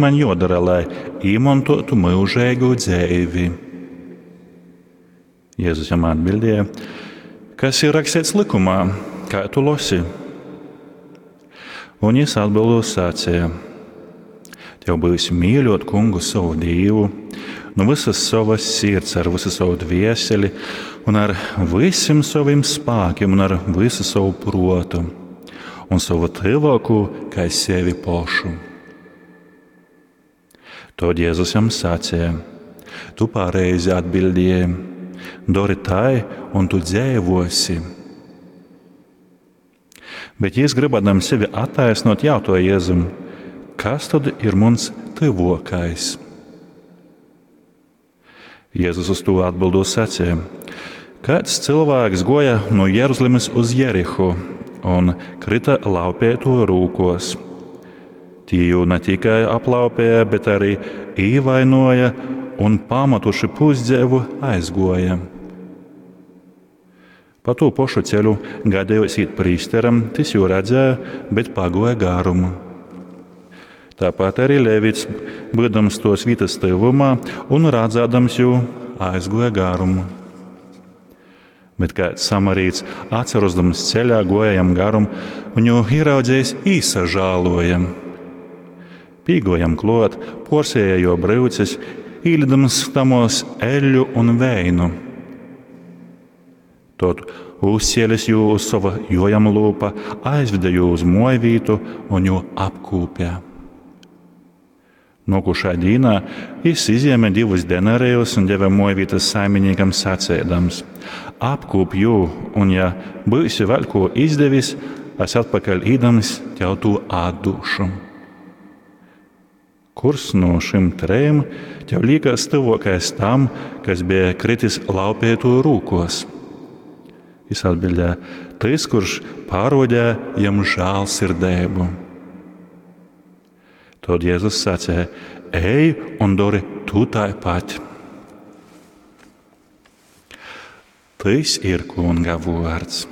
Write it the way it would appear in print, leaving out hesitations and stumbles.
maņ jōdora, lai īmontōtu myužeigu dzeivi? Jezus jam atbildēja: Kas ir raksteits lykumā, kai tu losi? Un jys atbildūt saceja: Tev byus mīļōt Kungu sovu Dīvu nu vysas sovas sirds, ar visu savu dvēseli un ar vysim sovim spākim un ar visu sovu prōtu, un sovu tyvōkū kai sevi pošu. Tod Jezus jam saceja: Tu pareizi atbildēji, dori tai, un tu dzeivosi. Bet jis, gribādams sevi attaisnot, jautāja Jēzum: Kas tad ir muns tyvōkais? Jēzus uz to atbildot sacīja: Kāds cilvēks goja no Jeruzalemes uz Jerihu un krita laupīto rūkos. Tie jū ne tikai aplaupīja, bet arī īvainoja un pametuši pusdzeivu aizgoja. Pa to pašu ceļu gadījos īt prīsteram, tis jū redzēja, bet pagoja garumu. Tāpat arī Levits, būdams tos vietas tyvumā un redzēdams jū, aizgoja garumu. Bet kāds samarīts, atcerosdams ceļā, goja jam garum un jū ieraudzējis īsažāloja. Pīgojam klot, porsēja jo bryuces, īlidams tamos eļļu un veinu. Tad uzcēlis jū uz sova jojama lūpa, aizveda jū uz mojvītu un jū apkūpja. Nokušā dīnā jis izjēma divus denarejus un deva mojvītas saiminīkam sacēdams: Apkūp jū, un ja būsi vēl ko izdevis, es atpakaļ īdams tev to atdošu. Kurs no šim trejiem tev liekas tuvākais tam, kas bija kritis laupīto rūkos? Jis atbildēja: Tas, kurš parodīja jam žēlsirdību. Tad Jēzus sacīja: Ej un dori tu tāpat. Tas ir Kunga vārds.